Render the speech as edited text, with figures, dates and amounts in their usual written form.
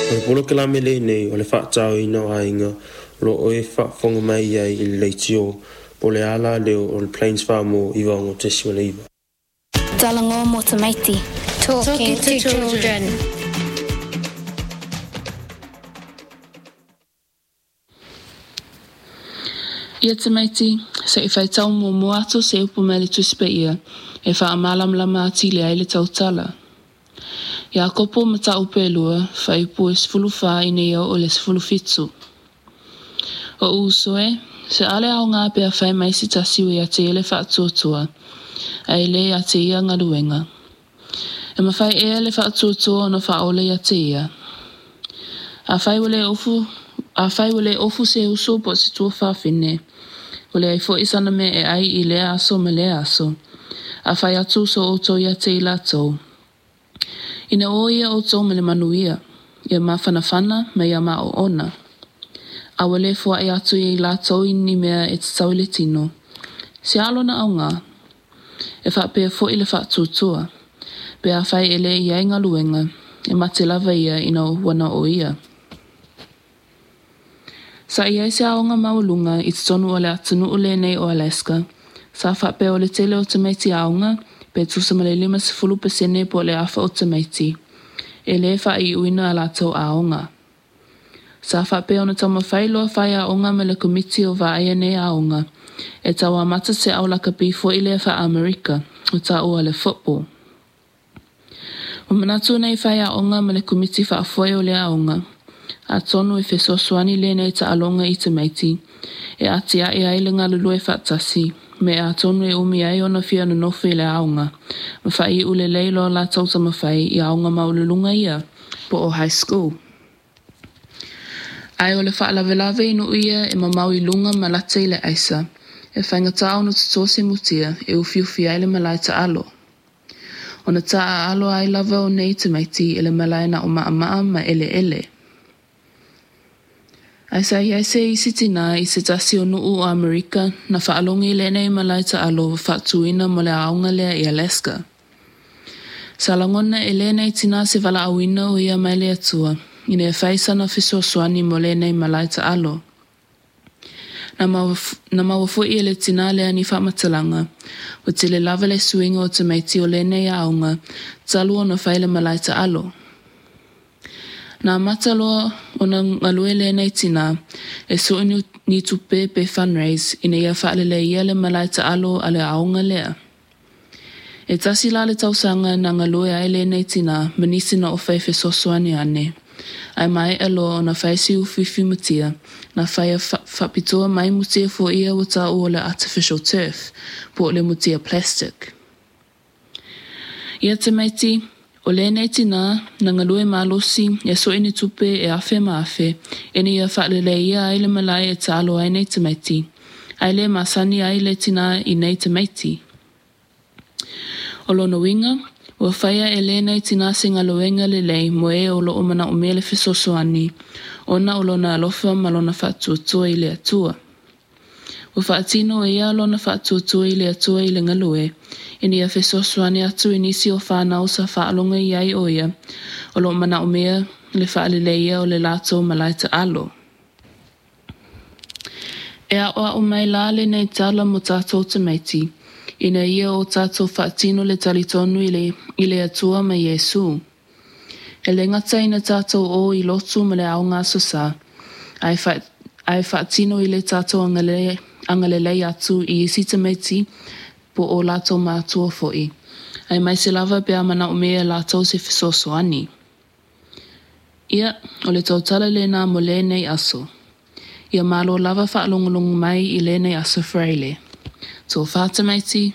O le polokalame lenei o le faatāoina o aiga o lo o e faafofoga mai ai i le leitio po o le alaleo o le Plains Farmore 96.9. Talanoa mo tamaiti. Talking to children. Ia tamaiti, se i faitau muamua atu se upu mai le Tusi Paia e faamalamalama atili ai le tautala. Iakopo mataupu e 2, fuaiupu e 14 ina ia oo i le 17. Oʻu uso e, se ale aoga pe afai mai se tasi ua ia te ia le faatuatua, ae e le ia te ia galuega. E mafai ea le faatuatua ona faaola ia te ia? Afai ua le ofu, afai ua le ofu se uso po o se tuafafine, ua leai foi sana mea e ai i lea aso ma lea aso, a fai atu so outou ia te i latou, Ina o ia outou ma le manuia, ia mafanafana ma ia maoona. A ua le foai atu ia i latou i ni mea e tatau i le tino, se a lona aoga? E faapea foi le faatuatua, pe afai e le i ai galuega, e mate lava ia ina ua na o ia. Sa i ai se aoga maualuga i totonu o le atunuu lenei o Alaska, sa faapea o le tele o tamaiti aoga, pe tusa ma le 50% po o le afa o tamaiti, e le faaiuina a latou aoga. Sa faapea ona taumafai loa faiaoga ma le komiti o vaaia nei aoga, e tau amata se au lakapi foi lea faa-Amerika, ua taua o le football. Ua manatu nei faiaoga ma le komiti faafoe o le aoga, atonu e fesoasoani lenei taaloga i tamaiti, e atiae ai le galulue faatasi, me atonu e umi ai ona fia nonofo i le aoga, ma faaiu lelei loa latou taumafai i aoga maualuluga ia, po o high school. Ae o le faalavelave i nuu ia e mamao i luga ma lata i le aisa, e faigata ona toto se mutia e ufiufi ai le malae taalo. Ona taaalo ai lava o nei tamaiti i le malae na o maamaa ma eleele. Ae sa i ai se isi tinā i se tasi o nuu o Amerika na faalogo i lenei malae taalo ua faatuina mo le aoga lea i Alaska. Sa lagona e lenei tinā se valaauina o ia mai le Atua ina ia fai sana fesoasoani mo lenei malae taalo. Na maua, na maua foi e le tinā lea ni faamatalaga, ua tele lava le suiga o tamaiti o lenei aoga talu ona fai le malae taalo. Na amata loa ona galue lenei tinā e sue ni tupe pe fundraise ina ia faaleleia le malae taalo a le aoga lea. E tasi la le tausaga na galue ai lenei tinā ma nisi na o fai fesoasoani ane, ae maea loa ona fai se ufiufi mutia, na faia faapitoa mai mutia foi ia ua taua o le artificial turf, po o le mutia plastic. Ia tamaiti, o lenei tinā na galue malosi e sue ni tupe e afe ma afe, ina ia faaleleia ai le malae e taalo ai nei tamaiti, ae le masani ai le tinā i nei tamaiti. O lona uiga, ua faia e lenei tinā se galuega lelei mo e o lo o manaomia le fesoasoani, ona o lona alofa ma lona faatuatua i le Atua. Ua faatino e ia lona faatuatua i le Atua i le galue, ina ia fesoasoani atu i nisi o fanau sa faalogo i ai o ia, o lo o manaomia le faaleleia o le latou malae taalo. E aʻoaʻo mai la lenei tala mo tatou tamaiti, ina ia o tatou faatino le talitonu i le, i le Atua ma Iesū. E le gata ina tatou o i lotu ma le aoga Aso Sa, ae, fa, ae faatino i le tatou agalelei, agalelei atu i isi tamaiti po o latou matua foi, aemaise lava pe a manaomia e latou se fesoasoani. Ia, o le tautala lena mo lenei aso. Ia malo lava faalogologo mai i lenei aso Faraile. Tofa tamaiti!